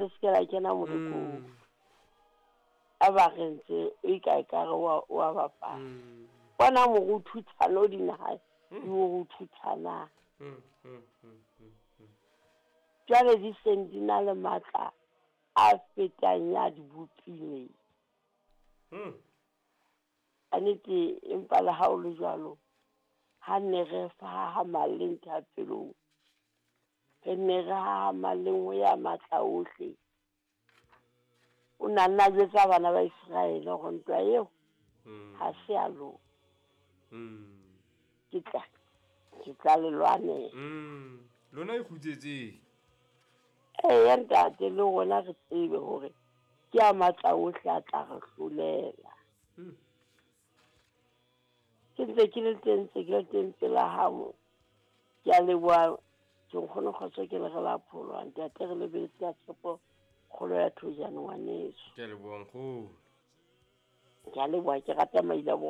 Le se ke la kena molekong. A ba re ntse e ka ekare wa bapala. Bona moruthuthana o dinaha di o ruthuthanang. Jwale di seng di na le matla a fetang ya di bopileng. Ka nete, empa le ha o le jwalo, ha nne re hahamalleng thapelong, re nne re hahamalleng ho ya matla ohle. O na nna jwetsa bana ba Iseraele hore ntwa eo ha se ya lona. Ke tla le lwanela. Lona e kgutsetseng. Eya ntate, le rona re tsebe hore ke a matla ohle a tla re hlolela. Ke ntse ke le teng, ntse ke le teng pela hao. Ke a leboha, ke nkgono Kgotso, ke le re la pholwa ntate, re lebeletse ka tshepo kgolo ya thojane ngwaneso. Ke a leboha nkgono. Ke a leboha, ke rata maila bo.